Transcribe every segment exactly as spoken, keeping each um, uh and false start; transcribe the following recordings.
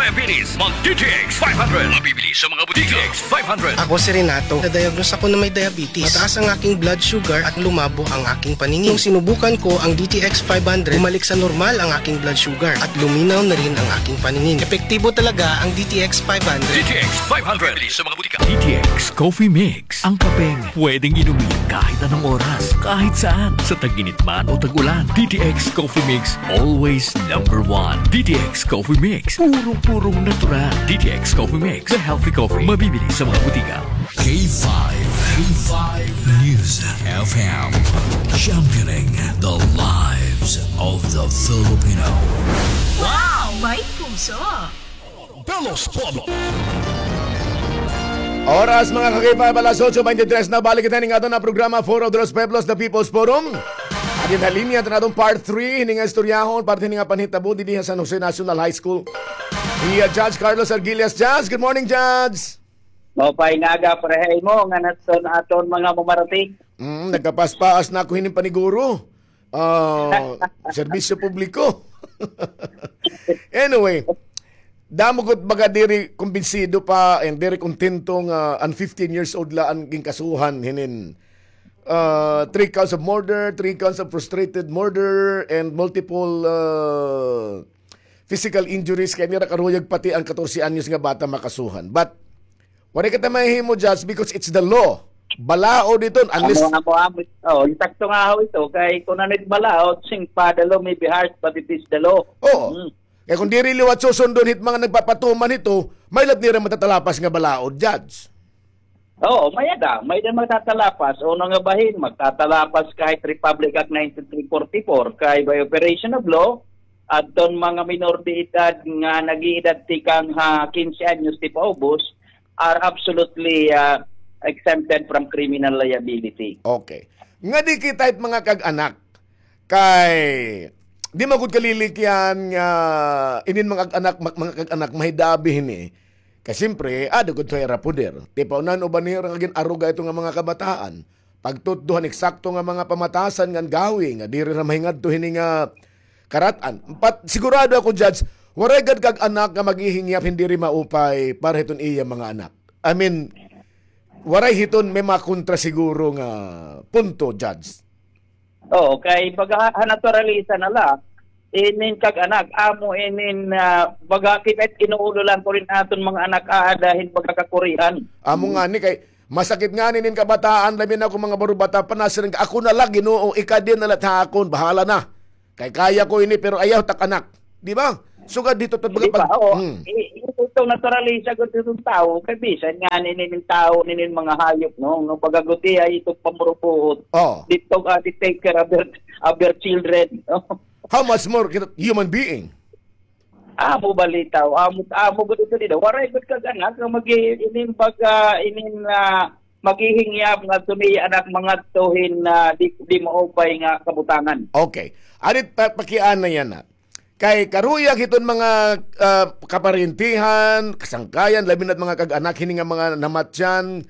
Diabetes, mag D T X five hundred. Mabibili sa mga butika. D T X five hundred. Ako si Renato. Na-diagnose ako na may diabetes. Mataas ang aking blood sugar at lumabo ang aking paningin. Nung sinubukan ko ang D T X five hundred, bumalik sa normal ang aking blood sugar at luminaw na rin ang aking paningin. Epektibo talaga ang D T X five hundred. D T X five hundred. Mabibili sa mga butika. D T X Coffee Mix. Ang kapeng pwedeng inumin kahit anong oras, kahit saan, sa tag-init man o tag-ulan. D T X Coffee Mix, always number one. D T X Coffee Mix, purong-purong natural. D T X Coffee Mix, the healthy coffee. Mabibili sa mga butika. K five, K five News F M, championing the lives of the Filipino. Wow! May puso! De los Pueblos. Oras, mga ka-K five, alas otso beintitres na. Balik kita ning aton nga programa, Foro de los Pueblos, The People's Forum. Adi na linya, aton part three hini nga istoryahon, parte hini nga panhitabo dinhi ha San Jose National High School. Iya Judge Carlos Arguillas. Judge, good morning, Judge. Maupay nga aga para ha imo ngan ha aton mga mamarating. Mm, nagkapaspaas na ako hinin paniguro. Ah, serbisyo publiko. Anyway, damo gud baga diri kumbinsido pa and diri kontento nga an fifteen years old la an ginkasuhan hinin, ah, three counts of murder, three counts of frustrated murder, and multiple, ah, physical injuries kay nira karuyag pati an katorse anyos nga bata makasuhan. But waray kita mahihimo, Judge, because it's the law. Balaod iton, unless Amo, amo, amo. Oh, insakto nga ho ito. Kay kung ano it balaod, sing pa the law may be harsh, but it is the law. Oo. Mm. Kay kung diri liwat susundon hit mga nagpapatuman hito, may-ada nira matatalapas nga balaod, Judge. Oo, may-ada. May-ada matatalapas. Una nga bahin, magtatalapas kahit Republic Act ninety-three forty-four, kay by operation of law, adton mga minor de edad nga nag-iidad tikang ha quince anyos ti paubos are absolutely, ah, exempted from criminal liability. Okay. Nga di kita it mga kag-anak, kay di man gud kalilikyan nga inin mga kag-anak, ma-, mga kag-anak mahidabi hini. Kay siyempre, ada gud ira poder. Ti paonan uban nira nga gin-aruga ito nga mga kabataan. Pagtutdo han eksakto nga mga pamatasan ngan gawi nga diri ra mahingadto hini nga karat-an. But sigurado ako, Judge, waray gad kag-anak nga maghihingyap hin diri maupay para hiton iya mga anak. I mean, waray hiton may makontra siguro nga punto, Judge. Oo, kay baga ha naturalisa na la, inin kag-anak, amo inin, ah, baga kita it inuulo la kurin aton mga anak aada hin baga kakurian. Amo ngani kay masakit ngani inin kabataan, labi na ako mga barubata, panasiring ka, "Ako na la, Ginoo, ikadi na la ha akon, bahala na. Kay kaya ko ini, pero ayaw tak anak." Di ba? Sugad dito, to, baga, di ba? Pag, oo. Hmm. I-, ito, naturalisa gud itong tao, kay bisan nga ninin tao, ninin mga hayop, no? No, pagaguti ay itong pamurupuot. Oo. Dito, ah, they take care of their, of their children, no? How much more kita human being? Amo balitaw, amo, amo gud ito dito. Waray gud kag-anak nga magi-, inin baga, inin, ah, maghihingyap nga tuni anak mga tuhin, ah, di, di maupay nga kabutangan. Okay. Adit pa-, pakiana yana. Kay karuyag hiton mga, ah, kaparintihan, kasangkayan, labi na't mga kag-anak hini nga mga namatyan,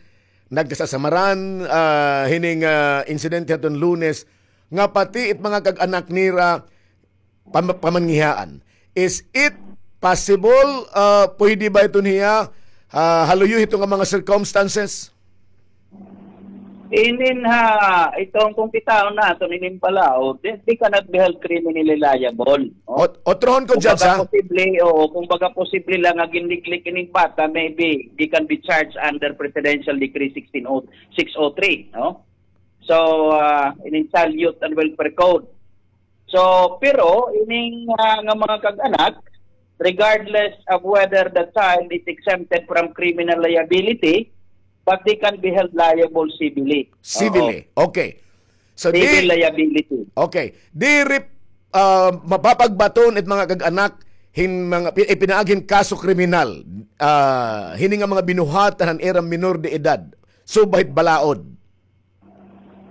nagkasasamaran, ah, hini nga insidente haton Lunes, nga pati it mga kag-anak nira pam-, pamangihaan. Is it possible, ah, pwede ba iton hiya, ah, ha luyo hito nga mga circumstances? Inin ha, itong kung kitaon naton inin balaod, they, they cannot be held criminally liable, no? Ot-, otrohon ko, Judge, ha? Kung baga posible, oo, kung baga posible la nga ginliklik inin bata, maybe they can be charged under Presidential Decree sixteen oh, six oh three, no? So, ah, inin Child, Youth and Welfare Code. So, pero ining, ah, nga mga kag-anak, regardless of whether the child is exempted from criminal liability, but they can be held liable civilly. Civilly. Oo. Okay. So, civil di-, liability. Okay. Diri, ah, mapapagbaton it mga kag-anak hin mga pi-, ipinaagi hin kaso kriminal, ah, hini nga mga binuhatan han ira minor de edad. Subay hit balaod.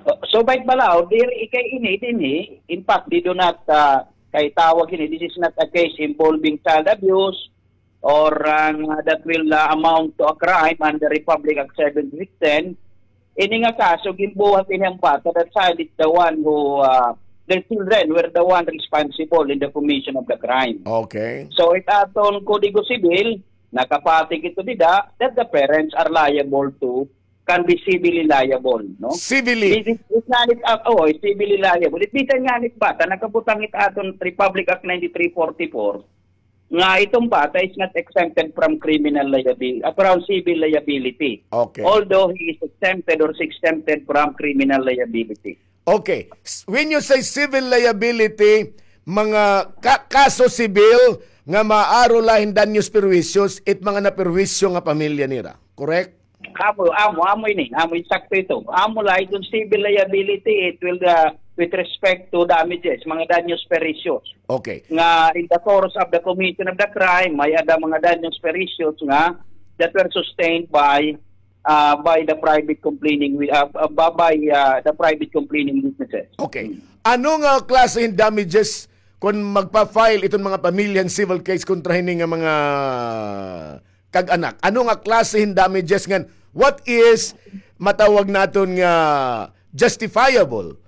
So, subay hit balaod, diri kay ini dinhi, in fact, they do not, ah, kay tawag ini, this is not a case involving child abuse or, ah, that will, ah, amount to a crime under Republic Act seven six ten. Ini nga kaso, ginbuhat ini han bata, the child is the one who, ah, the children were the one responsible in the commission of the crime. Okay. So, it aton Kodigo Sibil, nakapatik ito dida, that the parents are liable to, can be civilly liable, no? Civilly. It, it, it nga nit, ah, oh, civilly liable. It bisan nga nit bata, nakabutang it aton Republic Act ninety-three forty-four, nga iton bata is not exempted from criminal liability, ah, from civil liability. Okay. Although he is exempted or is exempted from criminal liability. Okay. S-, when you say civil liability, mga ka-, kaso sibil nga maaro la hin danyos perjuicios, it mga naperjuisyo nga pamilya nira. Correct? Amo, amo, amo ini. Amo, insakto ito. Amo la iton civil liability, it will, uh, with respect to damages, mga danyos perjuicios. Okay. Nga in the course of the commission of the crime, may-ada mga danyos perjuicios nga that were sustained by, uh, by the private complaining wi-, uh, uh, by, by, uh, the private complaining witnesses. Okay. Hmm. Ano nga klase hin damages kon magpa-file iton mga pamilya hin civil case kontra hini nga mga kag-anak? Ano nga klase hin damages ngan what is matawag naton nga justifiable,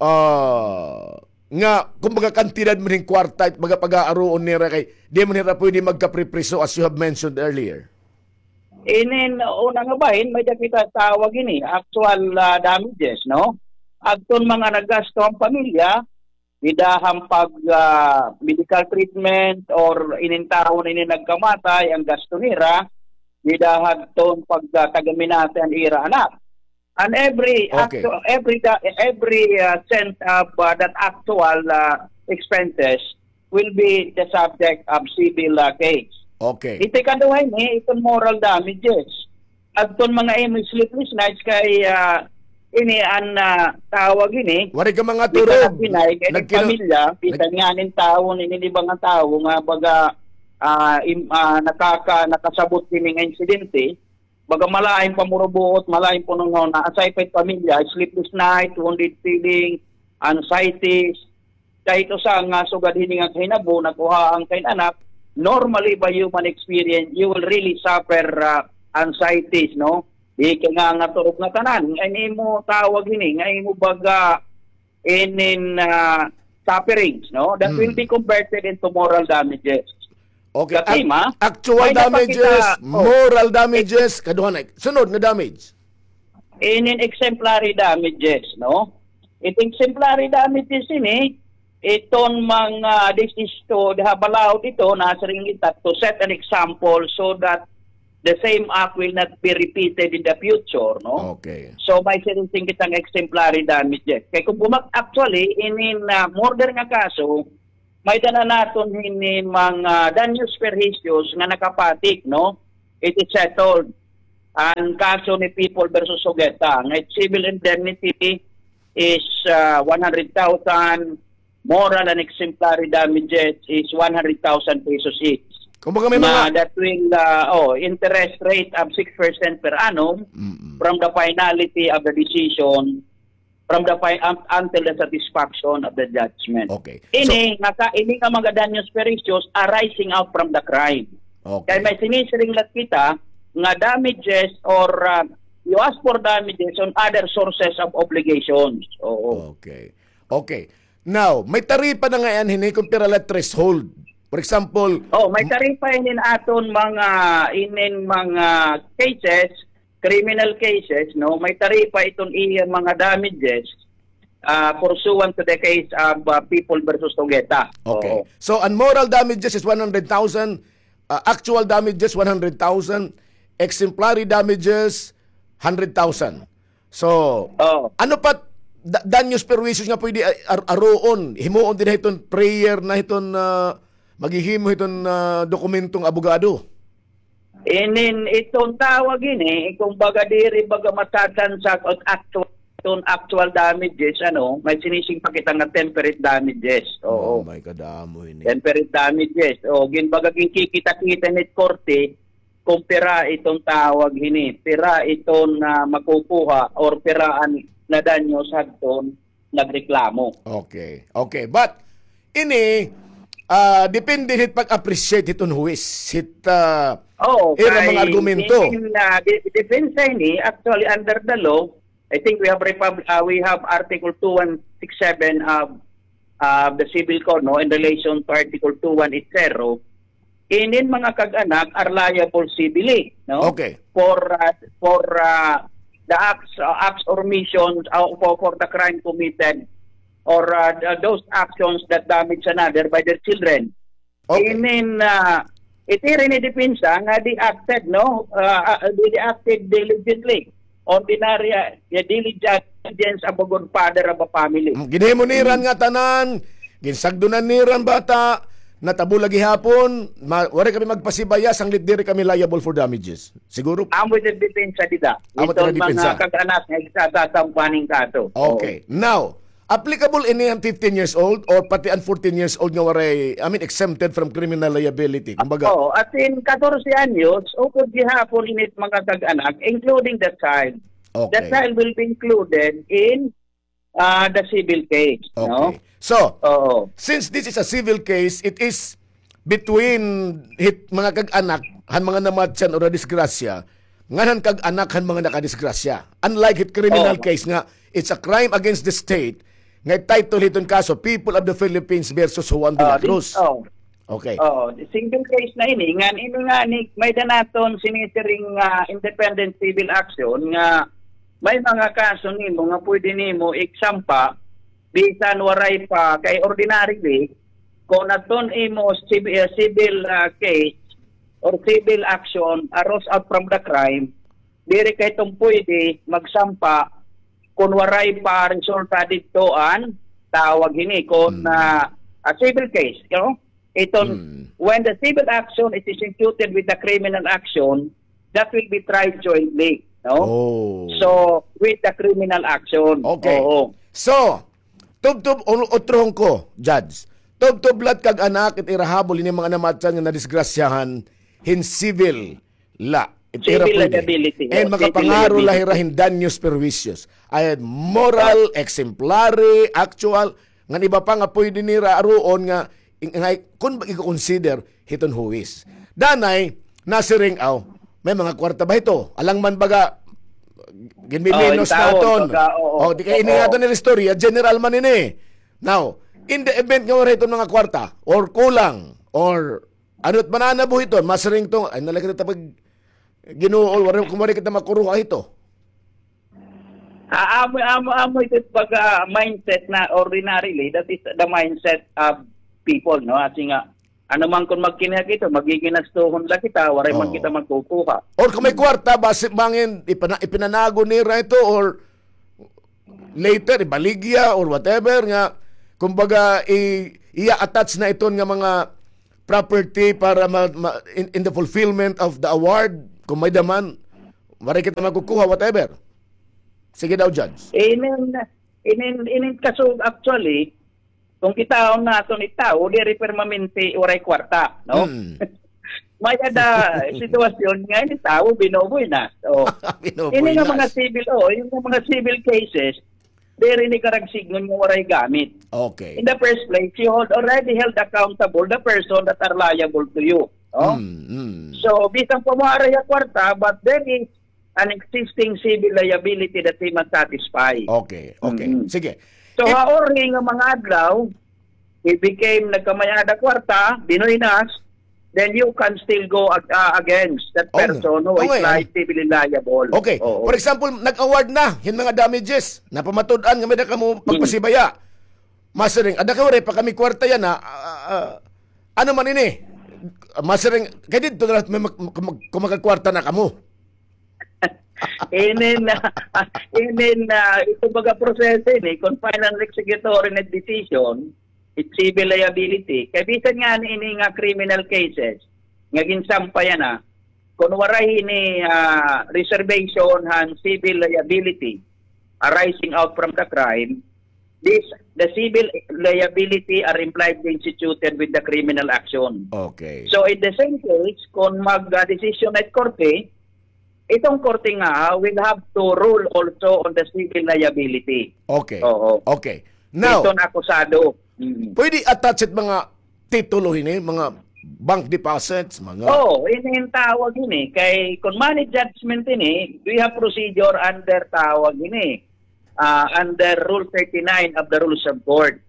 ah, nga kumbaga kantidad man hin kwarta it baga pag-aaruon nira kay di man hira pwede magkapripriso as you have mentioned earlier? Inin una nga bahin, may-ada kita tawag ini, actual, ah, damages, no? Adton mga naggasto an pamilya, dida han pag, ah, medical treatment or inin tawo ini nagkamatay, an gasto nira, dida hadton pag, ah, tagaminate an ira anak. And every Okay. actu-, every da-, every, uh, cent of, uh, that actual, uh, expenses will be the subject of civil, uh, case. Okay. Iti kaduha ini, iton moral damages. Adton mga imo sleepless nights kay, uh, ini an, uh, tawag ini. Waray ka mga turog. Kay pamilya, bisan nga nin tawo, nin iba nga tawo nga baga, uh, im-, uh, nakaka-, nakasabot kini nga insidente, baga malain pamurubuot, malain punonghona, aside pa it pamilya, sleepless night, wounded feeling, anxieties. Kahit usa nga sugad hini nga kahinabo, nakuha an kay anak, normally by human experience, you will really suffer, uh, anxieties, no? Di ka nga nga turog nga tanan, nga imo tawag hini, nga imo baga inin, ah, sufferings, no? That will be converted into moral damages. Okay. Actual damages, moral damages, kaduha na. Sunod nga damage. Inin exemplary damages, no? It exemplary damages ini, iton mga, this is to, diha balaod ito, nasiring kita to set an example so that the same act will not be repeated in the future, no? Okay. So, may siring kita nga exemplary damages. Kay kung gumak-, actually, inin, ah, murder nga kaso, may-ada na naton hini mga danyos perjuicios nga nakapatik, no? It is settled. An kaso ni People versus Ojeda, nga civil indemnity is, ah, one hundred thousand, moral and exemplary damages is one hundred thousand pesos each. Kumbaga may mga that will, uh, oh, interest rate of six percent per annum from the finality of the decision, from the fi-, un-, until the satisfaction of the judgment. Okay. Ini nga ka-, ini nga mga danyos perjuicios arising out from the crime. Okay. Kay may sinisiring la kita nga damages or, uh, you ask for damages on other sources of obligations. Oo. Okay. Okay. Now, may taripa na ngay-an hini kon pira la threshold. For example, oh, may taripa inin aton mga, inin mga cases, criminal cases, no? May taripa iton iya mga damages, ah, pursuant to the case of, ah, People versus Ojeda. Okay. Oo. So, an moral damages is one hundred thousand, ah, actual damages, one hundred thousand, exemplary damages, hundred thousand. So, ano pa da-, danyos perjuicios nga pwede a-, ar-, aruon, himuon dida hiton prayer na hiton, ah, maghihimo hiton, ah, dokumentong abogado? Inin iton tawag ini, kumbaga diri baga matatransact an actual, iton actual damages, ano, may sinising pa kita nga temperate damages. Oo. Oh, may kadamo ini. Temperate damages. O, ginbaga ginkikita-kita ni korte, kung pira iton tawag hini, pira iton, ah, makukuha or pira an nadanyos hadton nagreklamo. Okay. Okay. But, ini, ah, depende hit pag-appreciate hiton huwis, hit, ah, ira mga argumento. Inin, ah, de-, depensa ini, actually, under the law, I think we have repub-, ah, we have Article two one six seven of uh, the civil code, no, in relation to Article two one eight zero, inin mga kag-anak are liable civilly, no? Okay. For, uh, for, uh, the acts, uh, acts or missions, uh, for, for the crime committed or, uh, the, those actions that damage another by their children. Okay. Inin, uh, it iri ni depensa nga they acted, no? Uh, uh, they acted diligently. Ordinary, uh, diligence of a good father of a family. Mm, ginhimo nira nga tanan, ginsagdonan nira an bata, natabo la gihapon, ma-, waray kami magpasibaya, sanglit diri kami liable for damages. Siguro. Amo it depensa dida. Amo it depensa. Iton mga kag-anak nga igsasampaning kaso. Okay. Oo. Now, applicable ini an fifteen years old or pati an fourteen years old nga waray, I mean, exempted from criminal liability? Kumbaga, oo, asin katorse anyos, upod gihapon ini mga kag-anak, including the child. Okay. The child will be included in, ah, the civil case, no? Okay. So, oo, since this is a civil case, it is between hit mga kag-anak han mga namatyan o nadisgrasya, ngan han kag-anak han mga nakadisgrasya. Unlike hit criminal case nga, it's a crime against the state, nga title hiton kaso, People of the Philippines versus Juan de la Cruz. Oh, okay. Oh, single case na ini. Ngan ini nga ni, may-ada naton sinisiring, ah, independent civil action nga may mga kaso nimo nga pwede nimo igsampa bisan waray pa kay ordinarily, kon adton imo civ-, eh, civil, ah, case or civil action arose out from the crime, diri ka hiton pwede magsampa kon waray pa resulta didto an tawag hini kon, ah, a civil case, you know? Iton, when the civil action is executed with the criminal action, that will be tried jointly, no? Oh. So, with the criminal action. Okay. Oo. So, tubtob, o-, utrohon ko, Judge. Tubtob la it kag-anak, it ira habol, ini mga namatyan nga nadisgrasyahan, hin civil la. It ira pwede. Civil liability. And makapangaro la hira hin daños perjuicios. Ay moral, exemplary, actual, ngan iba pa nga pwede nira aruon nga, nga kun iko-consider hiton huwis. Danay, nasiring, aw, may mga kwarta ba hito? Alang man baga, ginmiminos naton. O, di kay ini nga aton istorya, general man ini. Now, in the event nga wala hiton mga kwarta, or kulang, or ano it mananabo hiton, masiring to, ay, nalagay kita pag Ginoo, waray, kun waray kita makuruha hito. Ah, amo, amo, amo ito pag, ah, mindset na ordinarily, that is the mindset of people, no? Kasi nga, ano man kun magkinahag ito, magiginastuhon la kita, waray man kita magkukuha. Or kung may kwarta, basi bangin, ipana-, ipinanago nira ito, or later, ibaligya, or whatever, nga, kumbaga, i-, iya-attach na iton nga mga property para ma-, ma-, in, in the fulfillment of the award, kung may-ada man, waray kita makukuha, whatever. Sige daw, Judge. Inin, inin, inin kaso, actually, kung kitaon naton it tawo, diri permanente waray kwarta, no? May-ada sitwasyon nga ini tawo binubuy na. So, ini nga mga civil, oh, yung mga civil cases, diri ni karagsigon nga waray gamit. Okay. In the first place, you hold, already held accountable the person that are liable to you. No? So, bisan pa mo waray kwarta, but there is an existing civil liability that he must satisfy. Okay, okay. Sige. So, ha uri nga mga adlaw, he became nagkamay-ada kwarta, binuy na, then you can still go ag-, ah, against that person who is li-, civilly liable. Okay. For example, nag-award na hin mga damages. Napamatud-an nga may-ada kamo pagpasibaya. Masiring, ada kay waray pa kami kwarta yana, ah, ah, ano man ini? Masiring, kay didto na la, may mag-, mag-, kung makakwarta na kamo. Inin, inin, ah, ito baga proseso ini, kung final executory na decision, it civil liability. Kay bisan nga ini nga criminal cases, nga ginsampay yana, kung waray ini, ah, reservation han civil liability arising out from the crime, this, the civil liability are impliedly instituted with the criminal action. Okay. So, in the same case, kung mag, ah, decision na it korte, itong korte nga will have to rule also on the civil liability. Okay. Oo. Okay. Now, iton akusado. Pwede attach it mga titulo hini, mga bank deposits, mga... Oh, ini, ini tawag ini. Kay, kung money judgment ini, we have procedure under tawag ini, ah, under Rule thirty-nine of the Rules of Court.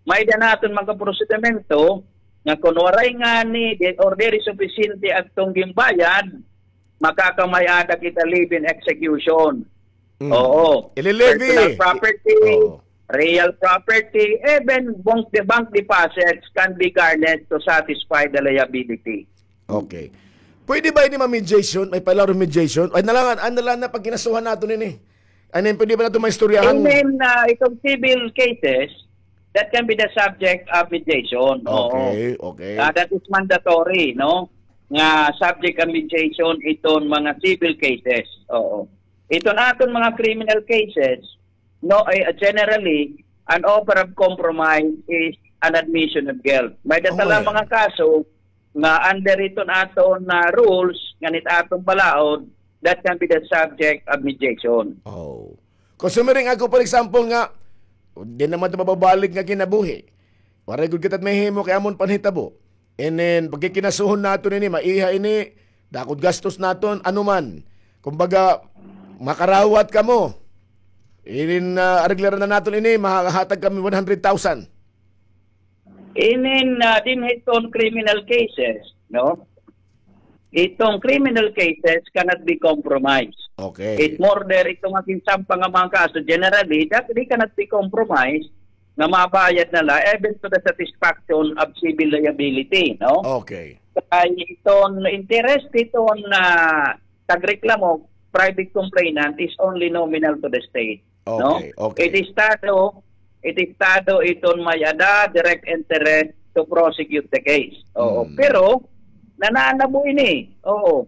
May-ada naton mga prosedimento nga kon waray ngani di, or diri supisyente adtong ginbayad, makakamay-ada kita live-in execution. Mm. Oo. Ililevy. Personal property, Oo. real property, even bank, the bank deposits can be garnished to satisfy the liability. Okay. Pwede ba ini ma-mediation? May palaro mediation? Ay, nalangan, ay, nalangan na pagkinasuhan nato nini. Ano yun, pwede ba nato maistoryahan? And then, uh, itong civil cases, that can be the subject of mediation. Oo. Okay, okay. Uh, that is mandatory, no? Nga subject of mediation iton mga civil cases. Oo. Iton aton mga criminal cases, no, eh, generally, an offer of compromise is an admission of guilt. May-ada la mga kaso nga under iton aton, ah, rules, ngan it aton balaod, that can be the subject of mediation. Oh. Kon sumiring ako, for example, nga, di naman ito mababalik nga kinabuhi. Waray gud kita mahimo kay amon panhitabo. And then, pagkikinasuhon naton ini, maiha ini, dakod gastos naton, ano man. Kumbaga, makarawat kamo. Inin, ah, areglaran na naton ini, mahahatag kami one hundred thousand. Inin, ah, dinhi iton criminal cases, no? Itong criminal cases cannot be compromised. Okay. It murder, itong aking sampa nga mga kaso, generally, that they cannot be compromised nga mabayad na la, even to the satisfaction of civil liability, no? Okay. Kay iton interest iton, ah, tagreklamo, private complainant is only nominal to the state, no? Okay, okay. It Estado, it Estado iton may-ada direct interest to prosecute the case. Oo. Mm. Pero, nananabo ini. Oo.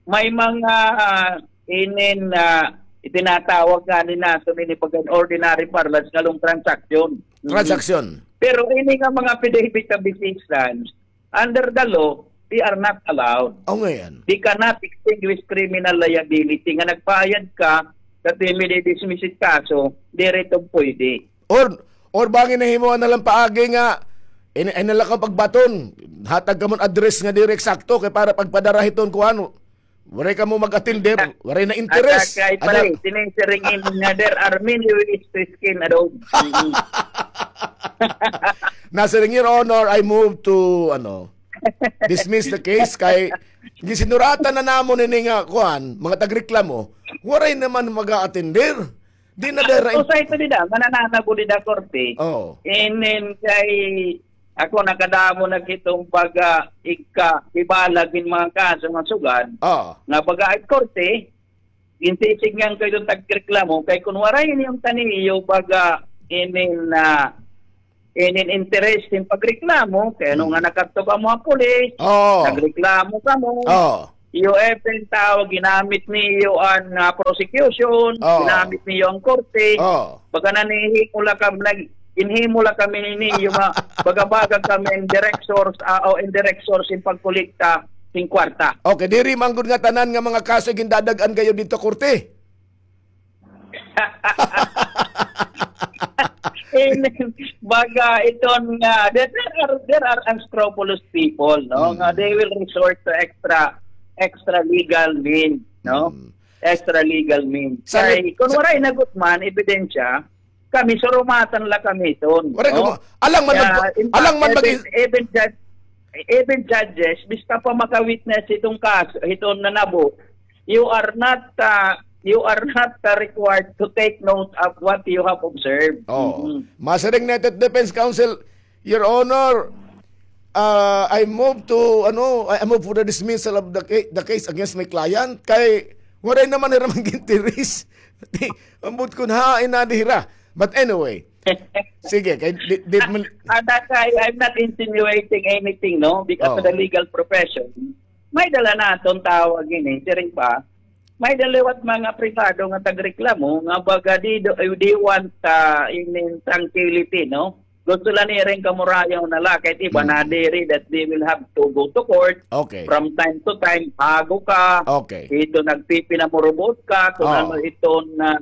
May mga, ah, inin, ah, itinatawag ngani naton ini pag ordinary parlance nga loan transaction. Mm. Transaction. Pero ini nga mga affidavit of assistance, under the law, they are not allowed. O, ngayon. They cannot extinguish criminal liability. Nga nagbayad ka, that may dismiss it kaso, diri ito pwede. Or, or bangin nahimo na lang paagi nga, in, in na lang ka pagbaton, hatag ka mo address nga diri eksakto, kay para pagpadara hiton kuan, waray kamo mag-attender, waray na interes. At, at kay pare, sinisiring in nga there are many ways to skin a dog. Mm. Nasiring, Your Honor, I move to, ano, dismiss the case kay gisinuratan na namon ini nga, kuan, mga tagreklamo, waray naman mag-attender. Di na dira. Usa ito dida, mananabo dida korte. Oo. Inin kay ako nakadamo na kitong baga ika, ibalag in mga kaso nga sugad. Oo. Nga baga ay korte, ginsisidngan ko itong tagreklamo, kay kun waray ini yung taniyo baga inin, ah, inin interest in pagreklamo, kay ano nga nakadto kamo ha pulis, nagreklamo kamo, iyo even tawag, ginamit niyo an, ah, prosecution, ginamit niyo an korte, baga nanihimo la kami, nag-, ginhimo la kami niyo, ma-, baga-baga kami in direct source, ah, o in direct source in pagkolekta sin kwarta. Okay, diri man gud nga tanan nga mga kaso gindadag-an kayo didto korte. Amen. Baga iton nga, there, there are, there are unscrupulous people, no? Nga they will resort to extra, extra legal means, no? Extra legal means. Kay kun waray na gud man ebidensya, kami surumatan la kami iton, no? Alang man, alang man even, even judge, even judges, bista pa maka-witness iton kaso, iton nanabo, you are not, uh, you are not, uh, required to take note of what you have observed. Oo. Masiring na ito, Defense Counsel, Your Honor, uh, I move to, ano, I move for the dismissal of the ca-, the case against my client. Kay, waray naman hira mag-interes. Ambot kun hain na dira. But anyway, sige, kay di, di man. Anak, I, I'm not insinuating anything, no? Because of the legal profession, may-ada la naton tawag ini, siring pa, may-ada liwat mga pribado nga tagreklamo nga baga they do, they want, ah, inin tranquility, no? Gusto la nira nga kamurayaw na la, kay iba nadiri that they will have to go to court. Okay. From time to time, hago ka. Okay. Ito nagpipinamurubot ka, kung ano iton na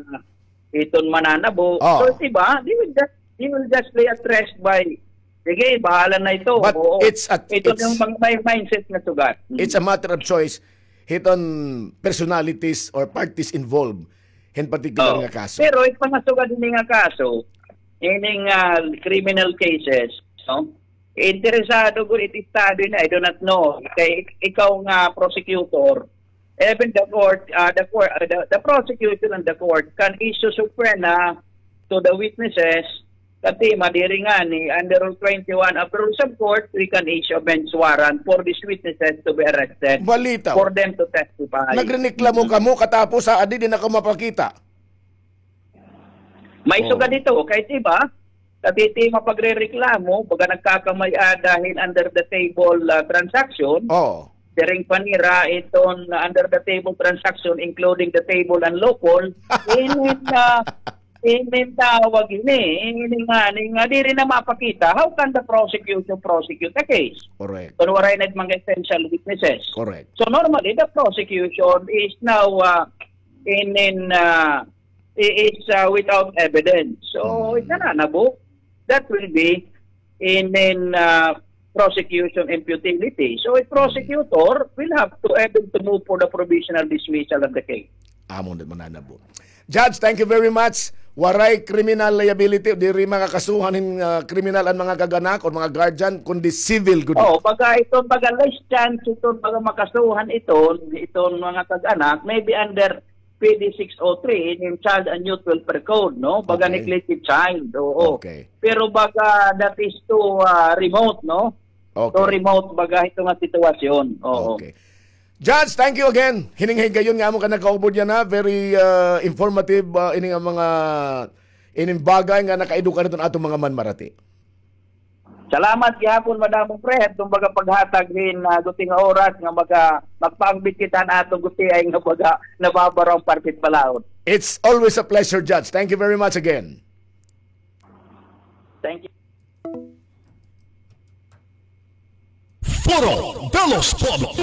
iton mananabo. Oo. So, iba, they will just, they will just lay at rest by, sige, bahala na ito. But it's a, ito it's, yung mga may mindset na sugad. It's a matter of choice. Hiton personalities or parties involved hin particular nga kaso. Pero it mga sugad ini nga kaso, ining, ah, criminal cases, no? Interesado gud it Estado ini, I do not know. Kay ik-, ikaw nga prosecutor, even the court, ah, the court, ah, the, the prosecution and the court can issue subpoena to the witnesses. Kay madiri ngani, under Rule twenty-one of the Rules of Court, we can issue a bench warrant for these witnesses to be arrested, Balitaw. For them to testify. Nagreklamo kamo, katapos ha adi, di na kamo mapakita. May sugad ito, kay iba, kay it mapagrereklamo, baga nagkakamay-ada hin under the table, ah, transaction. Oo. Siring pa nira iton under the table transaction, including the table and local. Inin, ah, inin tawag ini, inin nga, inin nga, diri na mapakita. How can the prosecution prosecute a case? Correct. Kon waray na mga essential witnesses. Correct. So normally, the prosecution is now, ah, inin, ah, i-, is, ah, without evidence. So, it na na, that will be in, in, ah, prosecution in futility. So, a prosecutor will have to able to move for the provisional dismissal of the case. Amo na mananabo. Judge, thank you very much. Waray criminal liability, diri makakasuhan hin, ah, criminal an mga kag-anak o mga guardian, kundi civil gud. Oo, baga iton, baga less chance iton, baga makasuhan iton, iton mga kag-anak, maybe under P D six oh three, in Child and Youth Welfare Code, no? Baga neglected child, oo. Okay. Pero baga that is too, ah, remote, no? Okay. Too remote baga ito nga sitwasyon. Oo. Okay. Judge, thank you again. Hining higayon nga amo ka nakaupod yana, very, ah, informative, ah, ini nga mga, ining bagay nga nakaedukar iton atong mga manmarati. Salamat gihapon, Madam Fred, itong baga paghatag hin, ah, guti nga oras nga maga-, magpaangbit kita han aton gutiay nga baga nababaro an Partit Palaod. It's always a pleasure, Judge. Thank you very much again. Thank you. Foro de los Pueblos.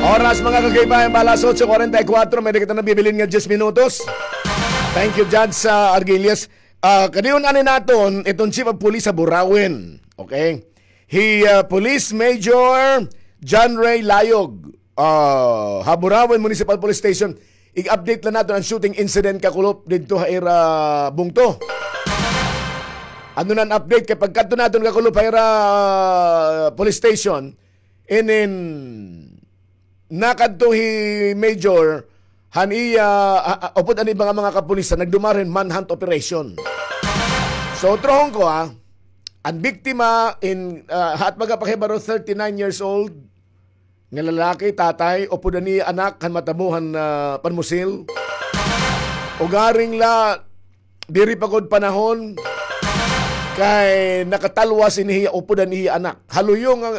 Oras, mga kagaypayan, alas otso kuwarenta y kuwatro, may kita na bibilin nga diyes minutos. Thank you, Judge, sa Argilias. Ah, kadiyon ani naton, iton Chief of Police ha Burauen. Okay? Hi, ah, Police Major John Ray Layog, ah, ha Burauen Municipal Police Station. I-update la naton an shooting incident kakulop didto ha ira bungto. Ano na an update kay pagkadto naton kakulop ha ira police station, inin nakadto hi Major han iya, ah, ah, upod an iba nga mga kapulisan, nagdumara hin manhunt operation. So, trohon ko, ah, an biktima in, ah, haat baga pakahibaro, thirty-nine years old, nga lalaki, tatay, upod an iya anak, han matabo han, ah, panmusil. Ugaring la, diri pa gud panahon, kay nakatalwas ini hiya upod an iya anak. Ha luyo nga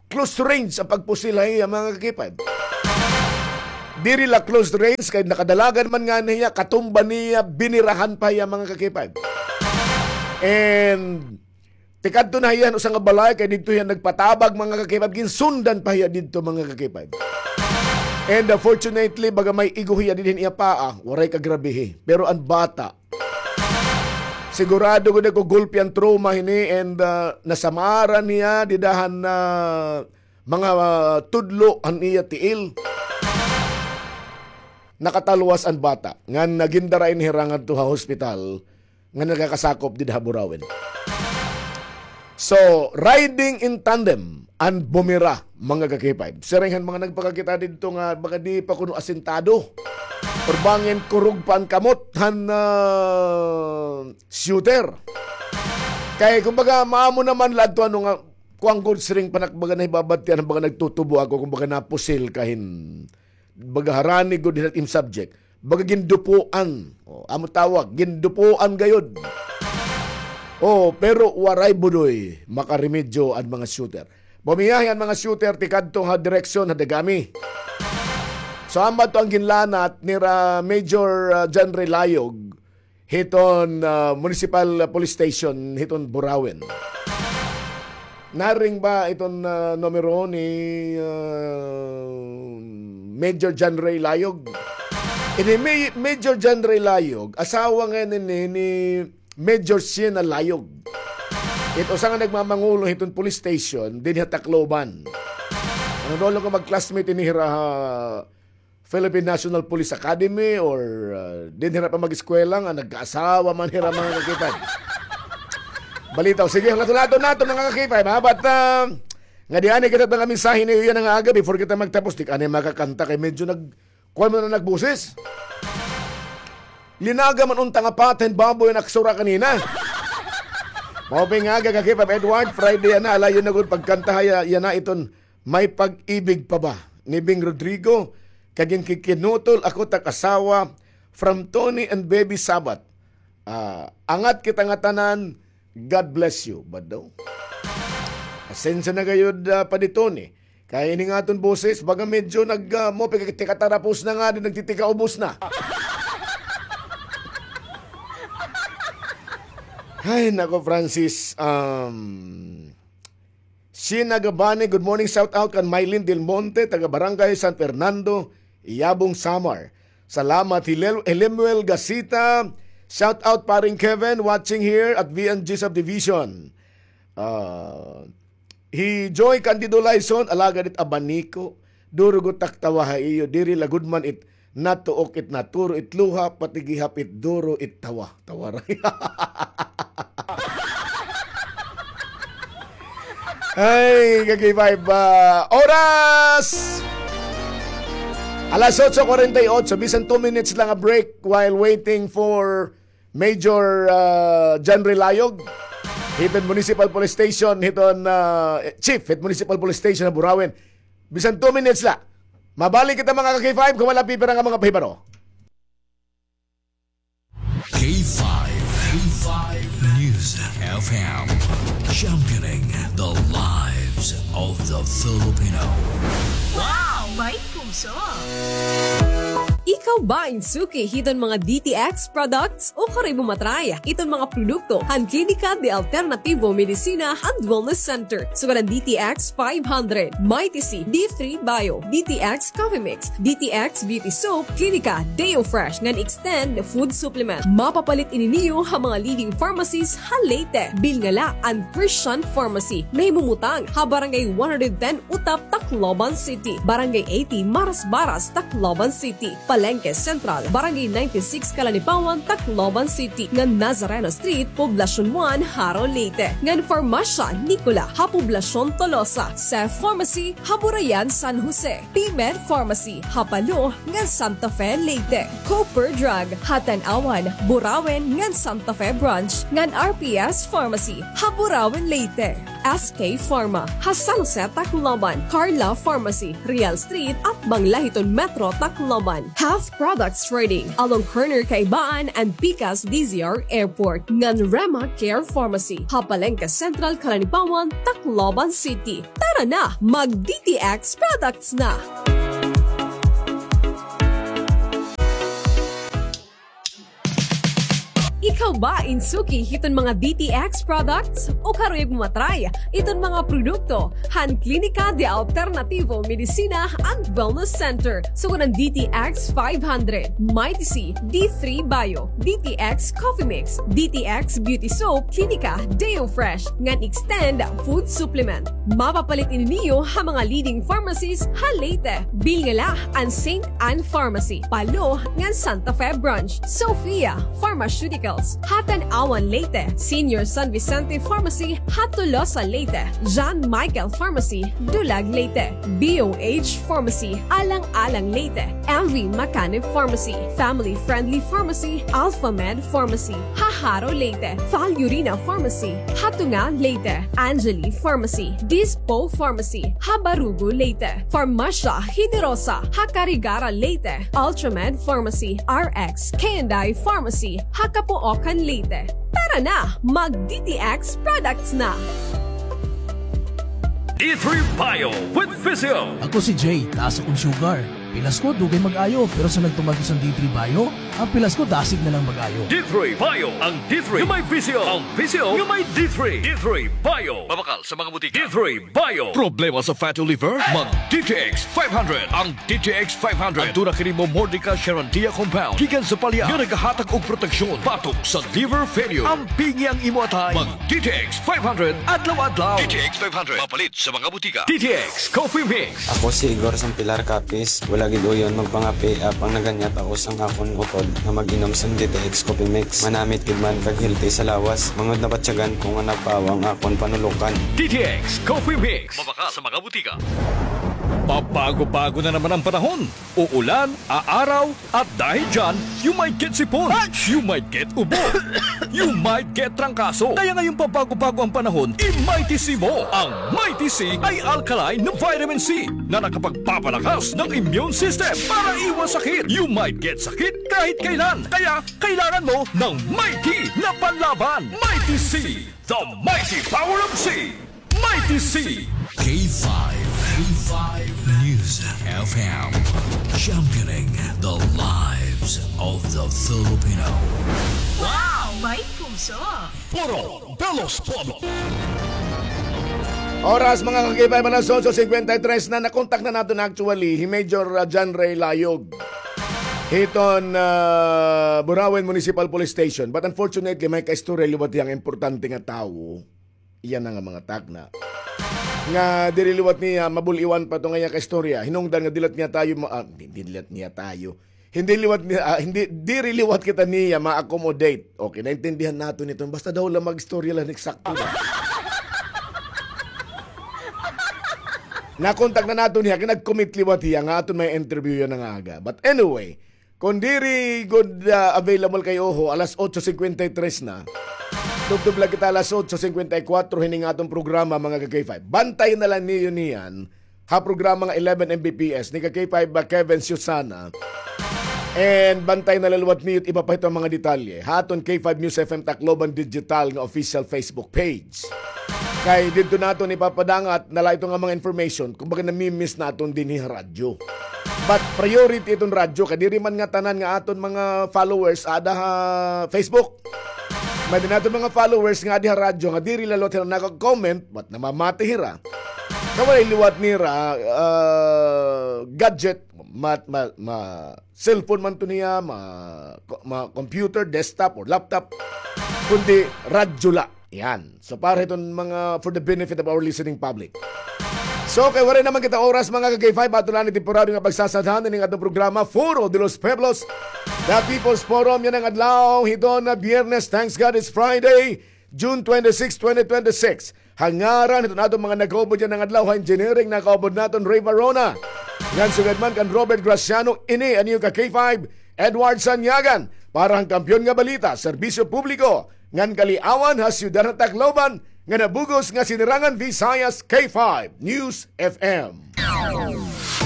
close range an pagpusil ha iya, mga kakipad. Diri la close range, kay nakadalagan man ngani hiya, katumba niya, binirahan pa hiya, mga kakipad. And tikadto na hiya han usa nga balay, kay didto hiya nagpatabag, mga kakipad, ginsundan pa hiya didto, mga kakipad. And, uh, fortunately, baga may igo hiya dinhi han iya paa, waray kagrabehi. Pero an bata, sigurado gud ako gulpi an trauma hini and, ah, nasamaran hiya dida han, ah, mga, ah, tudlo han iya tiil. Nakatalwas an bata ngan gindara ini hira ngadto ha hospital nga nagakasakop dida ha Burauen. So, riding in tandem and bumira, mga ka-K five. Siring han mga nagpakakita didto nga baga di pa kuno asintado or bangin kurog pa an kamot han, ah, shooter. Kay kumbaga, maamo naman la adto, ano nga, kuan gud, siring pa nak-, baga nahibabatian, baga nagtutubo ako, kumbaga napusil ka hin baga harani gud hin im subject. Baga gindupuan. O, amo tawag, gindupuan gayod. O, pero waray budoy makaremedyo an mga shooter. Bumiyahe an mga shooter tikadto ha direksyon ha Dagami. So, amo adto an ginlanat nira Major, ah, John Ray Layog hiton, ah, Municipal Police Station hiton Burauen. Naring ba iton, ah, numero ni, ah, Major John Ray Layog? Ini Ma-, Major John Ray Layog, asawa ngay-an ini ni Major Siena Layog. It usa nga nagmamangulo hiton police station dinhi ha Tacloban. Ano daw lang ko mag-classmate ini hira ha Philippine National Police Academy or, ah, dinhi hira pa mag-eskwela nga nagkaasawa man hira, mga ka-K five. Balitaw. Sige, hulaton-hulaton naton, mga ka-K five, ha? But, ah, ngadi anay kita mga mensahe niyo yana nga aga before kita magtapos. Di ka anay makakanta kay medyo nag-, kuwan man an nagboses. Linaga man unta nga pata hin baboy an aksura kanina. Maupay nga aga, ka-K five Edward, Friday yana, alayon na gud pagkantaha ya-, yana iton May Pag-ibig Pa Ba ni Bing Rodrigo, kag an Kikinutol Ako Tak Asawa, from Tony and Baby Sabat. Ah, angat kita ngatanan, God bless you. Bado. Pasensya na gayod, ah, Padi Tony. Kay ini nga aton boses, baga medyo nag, ah, mo, pagkatikatarapos na nga, di nagtitikaubos na. Ay, nako, Francis. Um, Sheena Gabani, good morning, shout out kan Mylene Del Monte, taga Barangay San Fernando, Yabong, Samar. Salamat, Hilel-, Hilemuel Gasita. Shout out, Paring Kevin, watching here at V N G Subdivision. Ah, hi Joy Candido Lyson, alagad it abaniko. Duro gud tak tawa ha iyo, diri la gud man it natuok it naturo it luha, pati gihap it duro it tawa. Tawa ra. Ay, ka-K five, ah, oras! Alas otso kwarenta y otso, bisan two minutes lang a break while waiting for Major, ah, John Relayog, hiton Municipal Police Station, hiton, ah, Chief, hit Municipal Police Station ha Burauen. Bisan two minutes la. Mabalik kita, mga ka-K five, kon wala pipira nga mga pahibaro. K five, K five News F M, championing the lives of the Filipino. Wow! May puso! Ikaw ba in suki hiton mga D T X products? O karoy mo matry iton mga produkto han Klinika de Alternativo Medicina and Wellness Center. Sugad han D T X five hundred, Mighty C, D three Bio, D T X Coffee Mix, D T X Beauty Soap, Klinika Deo Fresh ngan Extend Food Supplement. Mapapalit ini niyo ha mga leading pharmacies ha Leyte. Bilnga la an Christian Pharmacy, nahimumutang ha Barangay one hundred ten Utap, Tacloban City, Barangay eighty Marasbaras, Tacloban City, Palenque Central, Barangay ninety-six Calanipawan, Tacloban City, ngan Nazareno Street, Poblacion one, Jaro, Leyte, ngan Farmasya Nicola ha Poblacion Tolosa, Seth Pharmacy ha Burayan, San Jose, P-Med Pharmacy ha Palo ngan Santa Fe, Leyte, Cooper Drug ha Tanauan, Burauen ngan Santa Fe Branch, ngan R P S Pharmacy ha Burauen, Leyte. S K Pharma ha San Jose, Tacloban, Carla Pharmacy, Real Street, atbang la hiton Metro Tacloban. Health Products Trading along corner Kaibaan and Pikas D Z R Airport, ngan Rema Care Pharmacy ha Palenque Central, Calanipawan, Tacloban City. Tara na, mag D T X products na! Ikaw ba in suki hiton mga D T X products? O karuyag mo matry iton mga produkto han Klinika de Alternativo Medicina and Wellness Center? Sugad han D T X five hundred, Mighty C, D three Bio, D T X Coffee Mix, D T X Beauty Soap, Klinika Deo Fresh, ngan Extend Food Supplement. Mapapalit ini niyo ha mga leading pharmacies ha Leyte. Bilnga la an Saint Ann Pharmacy, Palo, ngan Santa Fe Branch, Sophia Pharmaceuticals ha Tanauan, Leyte, Senior San Vicente Pharmacy ha Tolosa, Leyte, John Michael Pharmacy, Dulag, Leyte, B O H Pharmacy, Alang-alang, Leyte, M V Macanib Pharmacy, Family Friendly Pharmacy, Alpha Med Pharmacy ha Jaro, Leyte, Valurina Pharmacy ha Tunga, Leyte, Angeli Pharmacy, Dispo Pharmacy ha Barugo, Leyte, Farmasya Generosa ha Carigara, Leyte, Ultramed Pharmacy, R X K and I Pharmacy ha Kapuokan, Leyte. Tara na, mag D T X products na! D three Bio with Physio. Ako si Jay, taas akon sugar. Pilas ko, dugay mag-ayo, pero sa nagtuman ko sa D three Bio, an pilas ko, dasig na lang mag-ayo. D three Bio, ang D three nga may Physio, ang Physio nga may D three. D three Bio. Mabakal sa mga butika. D three Bio. Problema sa fatty liver? Mag D T X five hundred. Ang D T X five hundred. Aduna kini Momordica Charantia compound gikan sa palya nga nagahatag og proteksyon batok sa liver failure. Ampingi ang imo atay. Mag D T X five hundred adlaw-adlaw. D T X five hundred. Mapalit sa mga butika. D T X Coffee Mix. Ako si Igor Sampilar Capiz, mula Kagid uyon, magpangape, apang naganyat ako sang akon utod nga mag-inom sang D T X Coffee Mix. Manamit gid man kag healthy sa lawas. Mangud nabatyagan ko nga napawa ang akon panulukan. D T X Coffee Mix. Mabakal sa mga butika. Pabago-bago na naman ang panahon. Uulan, aaraw, at dahil dyan, you might get sipon. You might get ubo. You might get trangkaso. Kaya ngayong pabago-bago ang panahon, i-Mighty C mo. Ang Mighty C ay alkaline na vitamin C na nakapagpapalakas ng immune system para iwas sakit. You might get sakit kahit kailan. Kaya kailangan mo ng Mighty na panlaban. Mighty C, the mighty power of C. Mighty C. K five, K five News F M, championing the lives of the Filipino. Wow! May puso! Foro de los Pueblos. Oras, mga ka-K five, alas otso singkwenta y tres na. Nakontak na naton actually hi Major, ah, John Ray Layog hiton, ah, Burauen Municipal Police Station. But unfortunately, may kaistorya liwat hiya nga importante nga tawo. Iya na nga mga takna nga diri liwat niya mabul-iwan pa to nga iya kaistorya. Hinungdan nga diri liwat niya tayo ma-, ah, hindi, diri liwat niya tayo. Hindi liwat niya, ah, hindi, diri liwat kita niya ma-accommodate. Okay, naintindihan naton iton. Basta daw la mag-istorya la hin eksakto ba. Nakontak na naton hiya, kay nag-commit liwat hiya nga aton may interview yana nga aga. But anyway, kon diri gud, ah, available kay Oho, alas otso singkwenta y tres na. Tubtob la kita alas otso singkwenta y kuwatro hini nga aton programa, mga ka-K five. Bantay na la niyo niyan ha programa nga eleven M B P S ni ka-K five ba Kevin Susana. And bantay na la liwat niyo it iba pa hiton mga detalye ha aton K five News F M Tacloban Digital nga official Facebook page. Kay didto naton ipapadangat na la ito nga mga information, kumbaga nami-miss naton dinhi ha radyo. But priority iton radyo, kay diri man nga tanan nga aton mga followers ada ha Facebook. May-ada naton mga followers nga adi ha radyo nga diri la liwat hira naka-comment, but namamati hira. Kay walay liwat nira, ah, gadget, ma-, ma-, ma-, cellphone man to niya, ma-, ma-, computer, desktop, or laptop, kundi radyo la. Yan. So, para hiton mga, for the benefit of our listening public. So, kay waray naman kita oras, mga ka-K five, ato la ini temporaryo nga pagsasadhan ining atong programa, Foro de los Pueblos, The People's Forum, yana nga adlaw hiton nga Biyernes. Thanks God it's Friday, June twenty-six, twenty twenty-six. Ha ngaran hiton aton mga nagkaupod yana nga adlaw ha engineering, nagkaupod naton Ray Varona. Ngan sugad man kan Robert Graciano, ini an iyo ka-K five, Edward Sanyagan, para han Kampiyon nga Balita, Serbisyo Publiko, ngan Kaliawan ha Siyudad han Tacloban, ngan ha bug-os nga Sinirangan Visayas, K five News F M.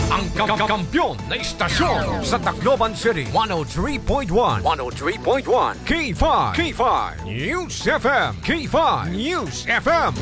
Ang ka-, ka-, kampiyon na istasyon sa Tacloban City, one oh three point one, one oh three point one, K five, K five News F M, K five News F M.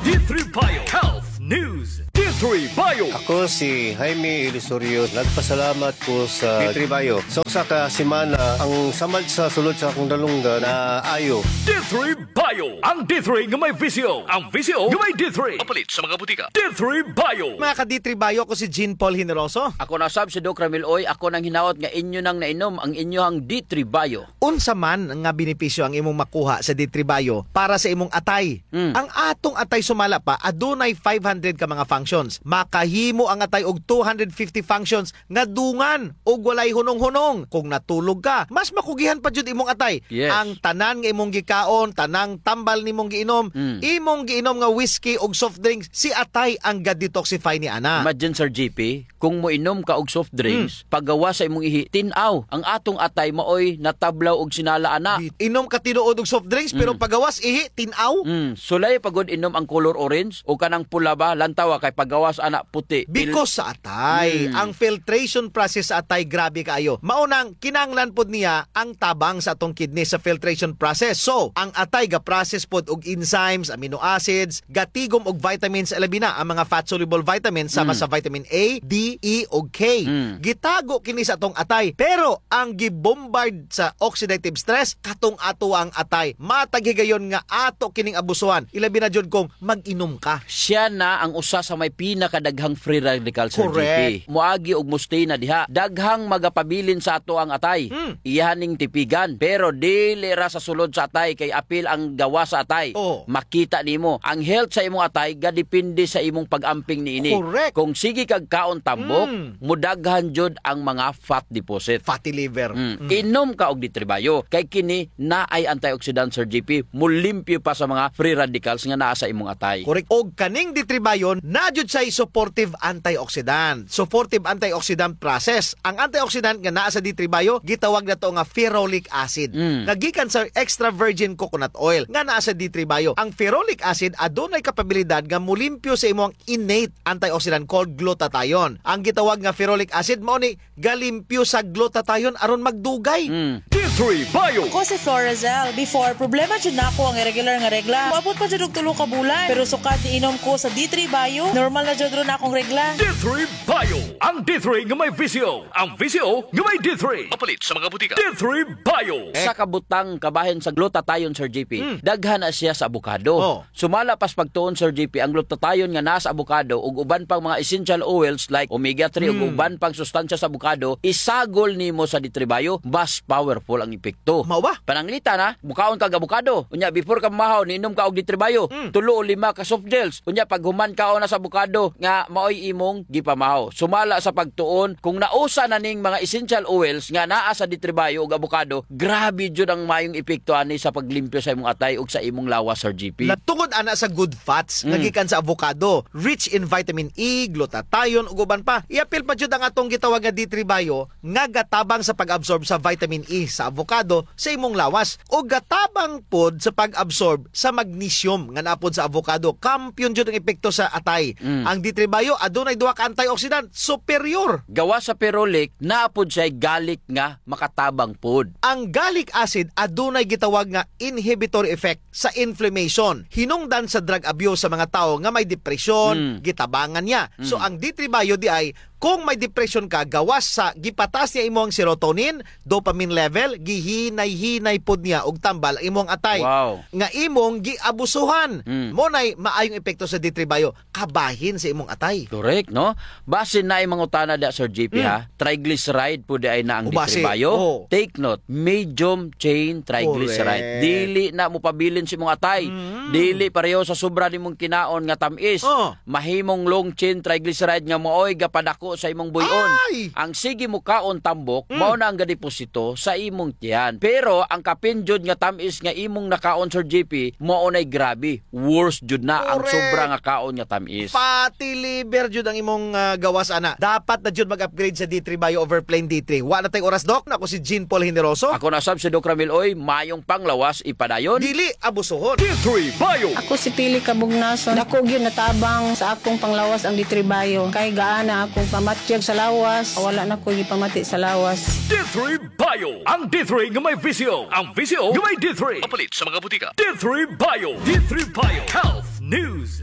D three Bio Health News. D three Bio. Ako si Jaime Ilusorio. Nagpasalamat ko sa D three Bio. Sa usa ka semana, ang samad sa sulod sa akong dalunggan, naayo. D three Bio. Ang D three nga may V C O. Ang V C O nga may D three. Mapalit sa mga butika. D three Bio. Mga ka-D three Bio, ako si Jean Paul Generoso. Ako na sab si Doc Ramil Oy. Ako nang hinaot nga inyo nang nainom ang inyohang D three Bio. Unsa man nga benepisyo ang imong makuha sa D three Bio para sa imong atay? Mm. Ang atong atay sumala pa, adunay five hundred ka mga functions. Makahimo ang atay og two hundred fifty functions nga dungan ug walay hunong-hunong. Kung natulog ka, mas makugihan pa jud imong atay. Yes. Ang tanan nga imong gikaon, tanang tambal nimong giinom, Mm. imong giinom nga whiskey ug soft drinks, si atay ang ga-detoxify ni ana. Imagine, Sir G P, kung moinom ka og soft drinks, Mm. pagawas sa imong ihi, tin-aw. Ang atong atay maoy natablaw og sinala ana. Di-, inom ka tinuod og soft drinks, pero Mm. pagawas ihi, tin-aw. Mm. Sulay pa gud inom ang color orange o kanang pula ba, lantawa kay pagawas ana puti. Pil- Because sa atay, Mm. ang filtration process sa atay grabe kaayo. Mao nang kinahanglan pod niya ang tabang sa atong kidney sa filtration process. So, ang atay ga-process pod og enzymes, amino acids, gatigom og vitamins, labi na ang mga fat-soluble vitamins sama Mm. sa vitamin A, D, E, ug K. Mm. Gitago kini sa atong atay, pero ang gibombard sa oxidative stress, katong ato ang atay. Matag higayon nga ato kining abusuhan, ilabi na jud kung mag-inom ka. Siya na ang usa sa may pinakadaghang free radical, Sir G P. Correct. Moagi og mustina diha. Daghang magapabilin sa ato ang atay. Mm. Iya ning tipigan. Pero dili ra sa sulod sa atay kay apil ang gawas sa atay. Oh. Makita nimo. Ang health sa imong atay gadepende sa imong pag-amping niini. Correct. Kung sige kag kaon tambok, Mm. mudaghan jud ang mga fat deposit. Fatty liver. Mm. Mm. Inom ka og D three Bio. Kay kini naay antioxidant, Sir G P. Mulimpyo pa sa mga free radicals nga naa sa imong atay. Correct. Og kaning D three Bio, naa jud siya'y supportive antioxidant. Supportive antioxidant process. Ang antioxidant nga naa sa D three Bio, gitawag nato nga ferulic acid. Mm. Nga gikan sa extra virgin coconut oil nga naa sa D three Bio. Ang ferulic acid adunay kapabilidad nga mulimpyo sa imong innate antioxidant called glutathione. Ang gitawag nga ferulic acid mao ni galimpyo sa glutathione aron magdugay. Mm. D three Bio. Ako si Florazel. Before, problema jud nako ang irregular nga regla. Moabot pa jud og tulo ka bulan. Pero sukad niinom ko sa D three Bio, normal na jud ron akong regla. D three Bio. Ang D three nga may V C O. Ang V C O nga may D three. Mapalit sa mga butika. D three Bio. Sa kabutang kabahin sa glutathione, Sir G P, Mm. daghan na siya sa avocado. Oh. Sumala pa sa pagtuon, Sir G P, ang glutathione nga naa sa avocado ug uban pang mga essential oils like omega three ug Mm. uban pang sustansya sa avocado, isagol nimo sa D three Bio, mas powerful ang epekto. Mao ba? Pananglitan, ha, mukaon kag avocado. Unya, before ka mamahaw, niinom ka og D three Bio, Mm. tulo o lima ka soft gels. Unya, paghuman kaon na sa avocado nga maoy imong gipamahaw. Sumala sa pagtuon, kung nausa na ning mga essential oils nga naa sa D three Bio ug avocado, grabe jud ang mayong epekto ani sa paglimpyo sa imong atay ug sa imong lawas, Sir G P. Na tungod ana sa good fats nga Mm. gikan sa avocado, rich in vitamin E, glutathione, ug uban pa. Iapil pa jud ang atong gitawag nga D three Bio nga gatabang sa pag-absorb sa vitamin E sa avocado sa imong lawas, ug gatabang pod sa pag-absorb sa magnesium nga naa pod sa avocado. Kampiyon jud ang epekto sa atay. Mm. Ang D three Bio adunay duha ka antioxidant superior. Gawas sa ferulic, naa pod siya'y gallic nga makatabang pod. Ang gallic acid adunay gitawag nga inhibitory effect sa inflammation. Hinungdan sa drug abuse sa mga tawo nga may depression, Mm. gitabangan niya. So, Mm. ang D three Bio diay, kung may depression ka, gawas sa gipataas niya imong serotonin, dopamine level, gihinay-hinay pod niya og tambal ang imong atay. Wow. Nga imong giabusuhan. Mm. Mao nay maayong epekto sa D three Bio. Kabahin sa imong atay. Correct, no? Basin naay mangutana diha, Sir G P, Mm. ha? Triglyceride pod diay na ang O, basi. D three Bio? Oo. Take note, medium chain triglyceride. Correct. Dili na mopabilin sa imong atay. Mm. Dili pareho sa sobra nimong kinaon nga tam-is. Oh. Mahimong long chain triglyceride nga maoy gapadako sa imong buy-on. Ay! Ang sige mokaon tambok, Mm. mao na ang gadeposito sa imong tiyan. Pero ang kapin jud nga tam-is nga imong nakaon, Sir G P, mao nay grabe. Worse jud na ang Correct. sobra nga kaon nga tam-is. Fatty liver jud ang imong, ah, gawas ana. Dapat na jud mag-upgrade sa D three Bio over plain D three. Wa na tay oras, Doc. Ako si Jean Paul Generoso. Ako na sab si Doc Ramil Oy. Mayong panglawas ipadayon. Dili abusuhon. D three Bio. Ako si Pili Kabugnason. Dako gyud natabang sa akong panglawas ang D three Bio. Kay gaan na akong pamatyag sa lawas. Wala na ko gipamati sa lawas. D three Bio. Ang D three nga may V C O. Ang V C O nga may D three. Mapalit sa mga butika. D three Bio. D three Bio. Health News.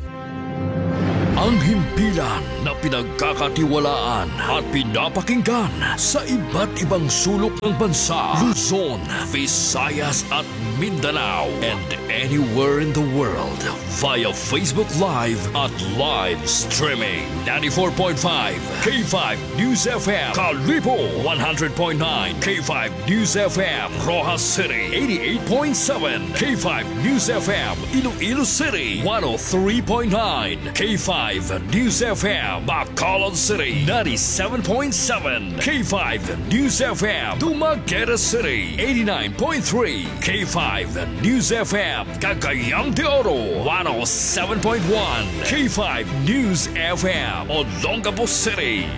Ang himpilan na pinagkakatiwalaan at pinapakinggan sa iba't ibang sulok ng bansa, Luzon, Visayas at Mindanao, and anywhere in the world via Facebook Live at live streaming. Ninety-four point five K five News F M, Kalibo, one hundred point nine K five News F M, Roxas City, eighty-eight point seven K five News F M, Iloilo City, one oh three point nine K five News F M, Bacolod City, ninety-seven point seven K five News F M, Dumaguete City, eighty-nine point three K five News F M, Cagayan de Oro, one oh seven point one K five News F M, Olongapo City.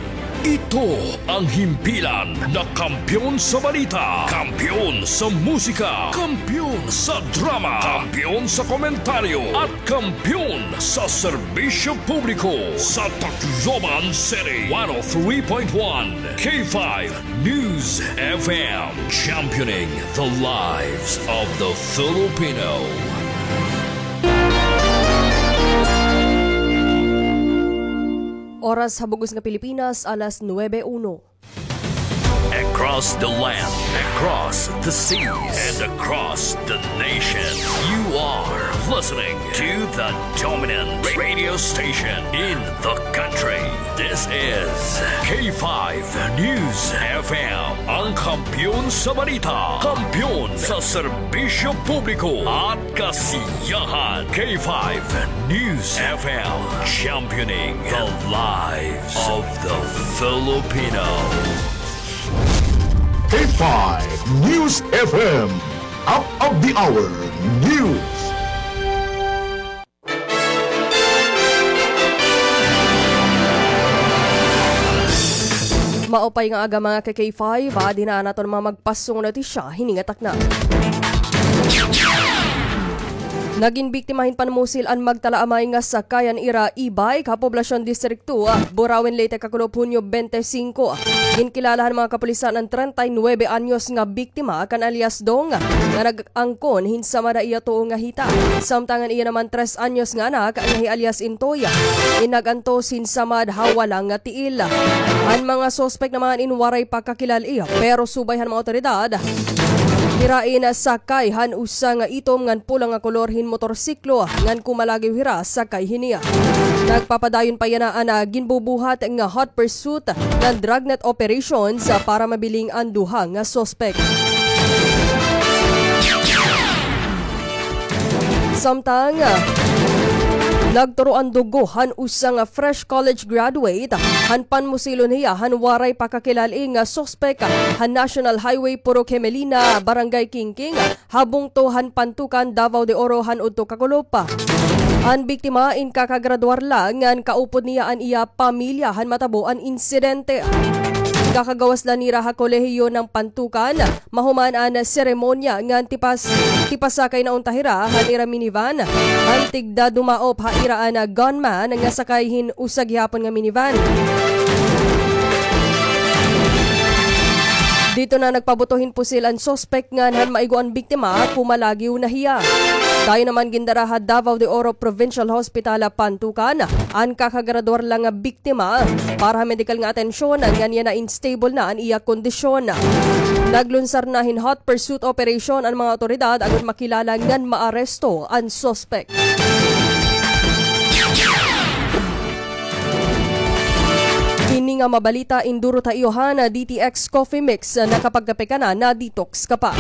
Ito ang himpilan na kampiyon sa balita, kampiyon sa musika, kampiyon sa drama, kampiyon sa komentaryo, at kampiyon sa serbisyo publiko sa Tacloban City. One oh three point one K five News F M, championing the lives of the Filipino. Oras ha bug-os nga Pilipinas, alas nuebe uno. Across the land, across the seas, and across the nation, you are listening to the dominant radio station in the country. This is K five News F M, ang kampiyon sa balita, kampiyon sa serbisyo publiko at kasiyahan. K five News F M, championing the lives of the Filipino. K five News F M, up of the hour news. Maupay nga aga, mga ka-K five, adi na an aton mga magpasong notisya hini nga takna. Nagin biktima hin panmusil an magtalaamay nga sakay han ira e-bike ha Poblacion District two, Burauen, Leyte, kakulop Hunyo twenty-five. Ginkilala han mga kapulisan an treinta y nuebe anyos nga biktima kan alias Dong nga nag-angkon hin samad ha iya tuo nga hita. Samtang an iya naman tres anyos nga anak nga hi alias Intoy, in nag-antos hin samad ha wala nga tiil. An mga suspek naman in waray pa kakilal-i, pero subay han mga awtoridad, hira in sakay han usa nga itom ngan pula nga kolor hin motorsiklo ngan kumalagiw hira sakay hini. Nagpapadayon pa yana an, ah, ginbubuhat nga hot pursuit ngan dragnet operations, ah, para mabiling an duha nga suspek. Samtang, ah, nagturo an dugo han usa nga fresh college graduate han panmusilon hiya han waray pa kakilal-i nga suspek han National Highway Purok Gemelina, Barangay Kingking, ha bungto han Pantukan, Davao de Oro, han udto kakulop. An biktima in kakagraduar la ngan kaupod niya an iya pamilya han matabo an insidente. Kakagawas la nira ha kolehiyo han Pantukan, mahuman an seremonya ngan tipas-, tipasakay na unta hira han ira minivan han tigda dumaop ha ira an gunman nga sakay hin usa gihapon nga minivan. Didto na nagpabuto hin pusil an suspek ngan han maigo an biktima, kumalagiw na hiya. Dayon naman gindara ha Davao de Oro Provincial Hospital, Pantukan, an kakagraduar la nga biktima para ha medikal nga atensyon ngan yana in stable na an iya kondisyon. Naglunsar na hin hot pursuit operation an mga awtoridad agod makilala ngan maaresto an suspek. Ini nga mabalita, induro ta iyo han D T X Coffee Mix, nakapagkape ka na, na-detox ka pa.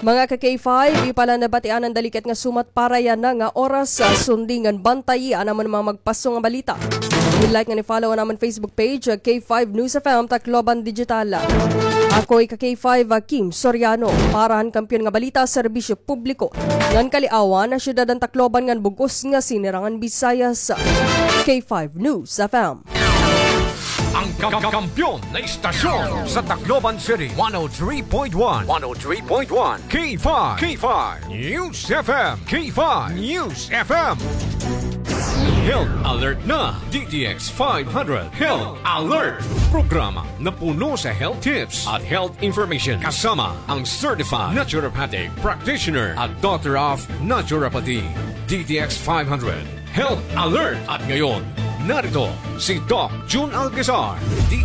Mga ka-K five, iyo pa la nabatian an dalikat nga sumat para yana nga oras, ah, sundi ngan bantayi an amon mga magpaso nga balita. I-like ngan i-follow an amon Facebook page, ah, K five News F M Tacloban Digital. Ako hi ka-K five, ah, Kim Soriano, para han kampiyon nga balita, serbisyo publiko ngan kaliawan ha syudad han Tacloban ngan bug-os nga Sinirangan Visayas, K five News F M. Ang ka-, kampiyon na istasyon sa Tacloban City, one oh three point one, one oh three point one, K five, K five News F M, K five News F M. Health Alert na, D T X five hundred Health Alert. Programa na puno sa health tips at health information, kasama ang certified naturopathic practitioner at doctor of naturopathy. D T X five hundred Health Alert. At ngayon, narito si Doc Jun Alcazar, D T